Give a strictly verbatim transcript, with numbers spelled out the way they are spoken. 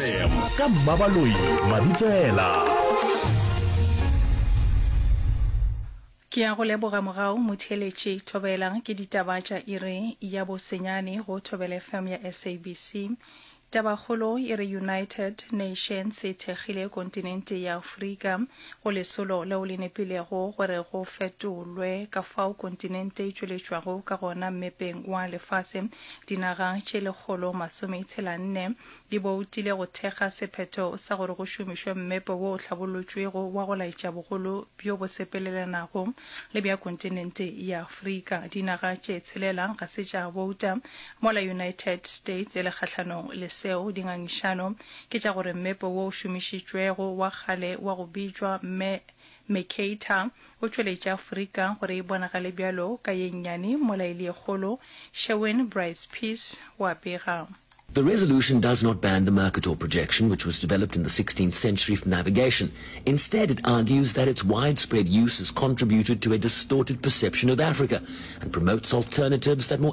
F M ka Mmabaloi Mabitsela. Ke a go leboga mogau motheeletši. Thobela ke ditaba tša iri ya bo senyane go Thobela F M ya S A B C. Tabakgolo e re United Nations e thekgile kontinente ya Afrika go lesolo leo le nepilego gore go fetolwe ka fao kontinente e tšweletšwago ka gona mmepeng wa lefase. Dinaga tše lekgolo masome tshela nne di boutile go thekga sephetho sa gore go šomišwe mmepe wo o hlabollotšwego wa go laetša bogolo bjo bo sepelelanago le bja kontinente ya Afrika. Dinaga tše tshelela ga se tša bouta, mola United States e le kgahlanong le seo. Dingangišano ke tša gore mmepe wo o šomišitšwego wa kgale wa go bitšwa Mercator o tšweletša Afrika gore e bonagale bjalo ka ye nnyane mola e le ye kgolo, Sherwin Bryce-Pease o a bega. The resolution does not ban the Mercator projection, which was developed in the sixteenth century for navigation. Instead, it argues that its widespread use has contributed to a distorted perception of Africa and promotes alternatives that more